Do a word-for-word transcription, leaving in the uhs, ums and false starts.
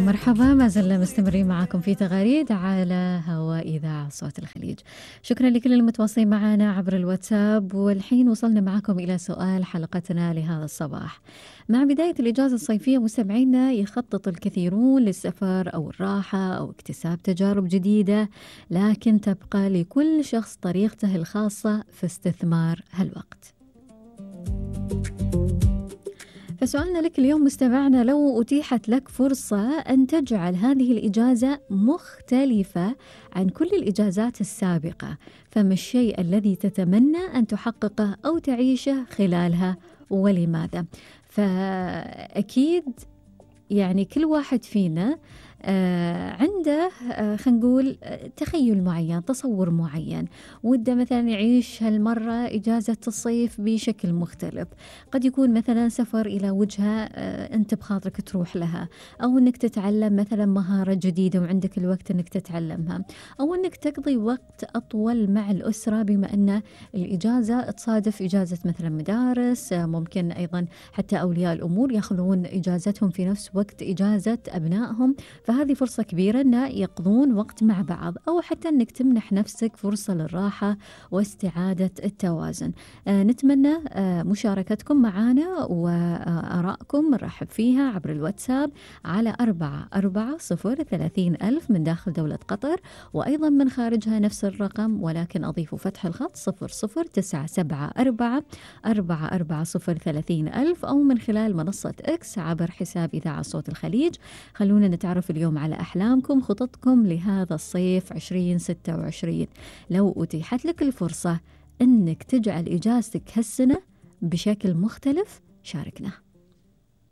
مرحبا، ما زلنا مستمرين معاكم في تغاريد على هواء إذاعة صوت الخليج. شكرا لكل المتواصلين معنا عبر الواتساب. والحين وصلنا معكم إلى سؤال حلقتنا لهذا الصباح. مع بداية الإجازة الصيفية مستمعينا يخطط الكثيرون للسفر أو الراحة أو اكتساب تجارب جديدة، لكن تبقى لكل شخص طريقته الخاصة في استثمار هالوقت. فسؤالنا لك اليوم مستمعنا، لو أتيحت لك فرصة أن تجعل هذه الإجازة مختلفة عن كل الإجازات السابقة، فما الشيء الذي تتمنى أن تحققه أو تعيشه خلالها ولماذا؟ فأكيد يعني كل واحد فينا آه عنده آه خلينا نقول آه تخيل معين، تصور معين، وده مثلا يعيش هالمرة إجازة الصيف بشكل مختلف. قد يكون مثلا سفر إلى وجهة آه أنت بخاطرك تروح لها، أو أنك تتعلم مثلا مهارة جديدة وعندك الوقت أنك تتعلمها، أو أنك تقضي وقت أطول مع الأسرة بما أن الإجازة تصادف إجازة مثلا مدارس. آه ممكن أيضا حتى أولياء الأمور يأخذون إجازتهم في نفس وقت إجازة أبنائهم، فهذه فرصة كبيرة أن يقضون وقت مع بعض، أو حتى أنك تمنح نفسك فرصة للراحة واستعادة التوازن. آه نتمنى آه مشاركتكم معنا وآرائكم نرحب فيها عبر الواتساب على أربعة أربعة صفر ثلاثين ألف من داخل دولة قطر، وأيضا من خارجها نفس الرقم ولكن أضيف فتح الخط صفر صفر تسعة سبعة أربعة أربعة أربعة صفر ثلاثين ألف، أو من خلال منصة إكس عبر حساب إذاعة صوت الخليج. خلونا نتعرف اليوم على أحلامكم، خططكم لهذا الصيف عشرين ستة وعشرين. لو أتيحت لك الفرصة أنك تجعل إجازتك هالسنة بشكل مختلف، شاركنا.